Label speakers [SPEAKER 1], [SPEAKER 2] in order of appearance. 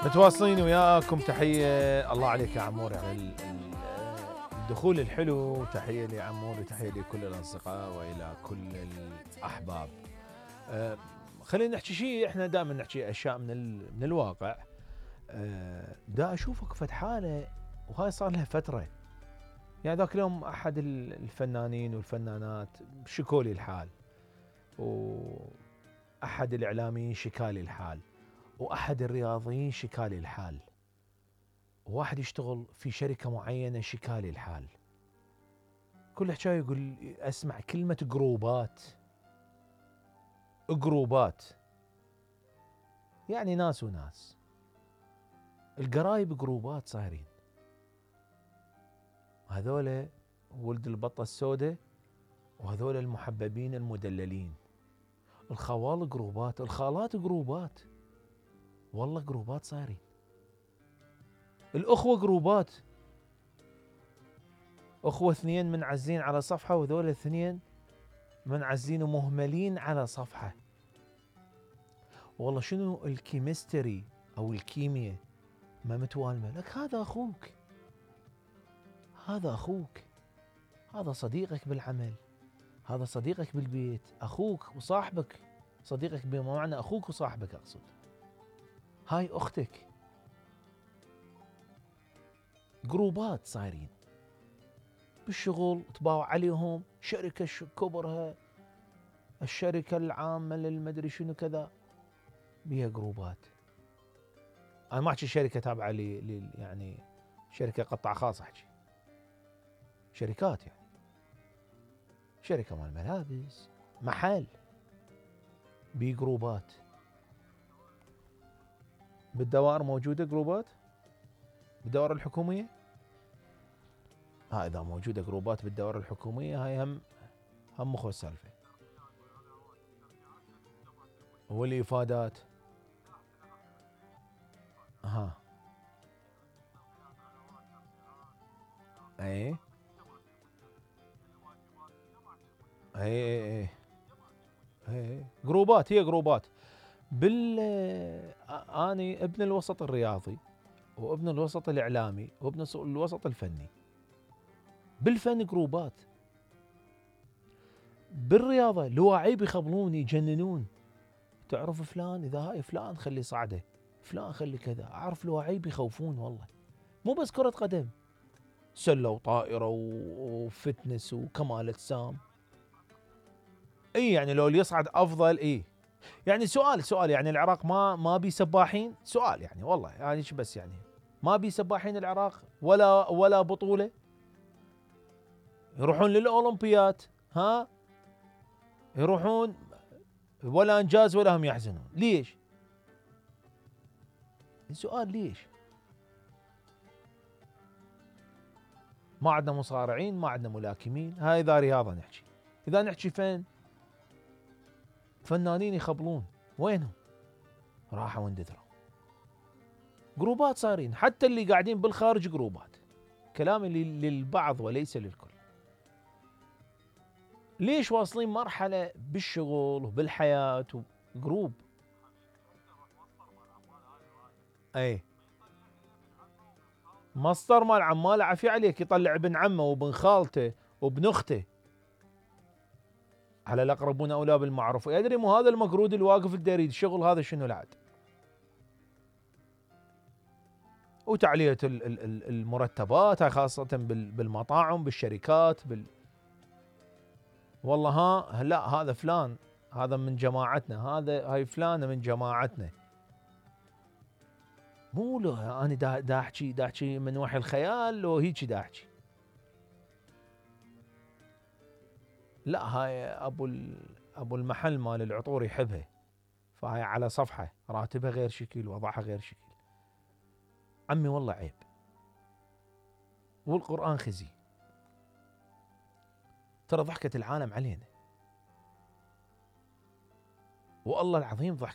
[SPEAKER 1] متواصلين وياكم. تحية الله عليك يا عموري على الدخول الحلو. تحية لي عموري، تحية لكل الأصدقاء وإلى كل الأحباب. خلينا نحكي شيء، احنا دائما نحكي أشياء من الواقع. دا أشوفك فد حالة وهاي صار لها فترة. يعني ذاك اليوم أحد الفنانين والفنانات شكولي الحال، وأحد الإعلاميين شكالي الحال، وأحد الرياضيين شكالي الحال، وواحد يشتغل في شركة معينة شكالي الحال. كل حكاية يقول أسمع كلمة جروبات. جروبات يعني ناس وناس، القرايب جروبات صايرين. هذول ولد البطة السوداء، وهذول المحببين المدللين. الخوال جروبات، الخالات جروبات، والله جروبات صايرين. الأخوة جروبات، أخوة اثنين منعزين على صفحة، وذول اثنين منعزين ومهملين على صفحة. والله شنو الكيمستري أو الكيمياء ما متوالمة لك. هذا أخوك، هذا أخوك، هذا صديقك بالعمل، هذا صديقك بالبيت، أخوك وصاحبك. صديقك بمعنى أخوك وصاحبك أقصد. هاي أختك. جروبات صايرين بالشغل، تباوع عليهم شركة كبرها، الشركة العامة للمدري شنو كذا، بيها جروبات. أنا ما أحكي شركة تابعة يعني شركة قطاع خاص، أحكي شركات، يعني شركة مال ملابس، محل، بي جروبات. بالدوائر موجودة جروبات، بالدوائر الحكومية. إذا موجودة جروبات بالدوائر الحكومية، هاي هم مخو السالفة. والإفادات اي جروبات، هي جروبات. اني ابن الوسط الرياضي، وابن الوسط الاعلامي، وابن الوسط الفني. بالفن جروبات، بالرياضه لواعيب يخبلون يجننون. تعرف فلان، اذا هاي فلان خلي صعده، فلان خلي كذا. اعرف لواعيب يخوفون والله، مو بس كرة قدم، سلة وطائرة وفتنس وكمال اجسام. اي يعني لو اللي يصعد افضل. يعني سؤال يعني العراق ما بي سباحين؟ سؤال يعني والله يعني بس يعني ما بي سباحين العراق ولا بطولة يروحون للأولمبيات؟ يروحون ولا انجاز ولا هم يحزنون. ليش؟ السؤال ليش؟ ما عندنا مصارعين، ما عندنا ملاكمين. هاي اذا رياضة نحكي. اذا نحكي فن، فنانين يخبلون، وينهم؟ راحوا واندثروا. جروبات صارين، حتى اللي قاعدين بالخارج جروبات. كلامي للبعض وليس للكل. ليش واصلين مرحلة بالشغل وبالحياة جروب؟ مصدر مال عماله عافية عليك، يطلع ابن عمه وابن خالته وابن اخته على الاقربون اولى بالمعروف. يدري مو هذا المقرود اللي واقف الدريد الشغل هذا شنو العاد؟ وتعلية المرتبات، هاي خاصة بالمطاعم، بالشركات، والله لا هذا فلان، هذا من جماعتنا، هاي فلانة من جماعتنا. مو له انا دا احكي من وحي الخيال لو هيك دا احكي. لا هاي ابو المحل مال العطور يحبها، فهاي على صفحة راتبها غير شكل، وضعها غير شكل. عمي والله عيب، والقرآن خزي. ترى ضحكة العالم علينا، والله العظيم ضحكة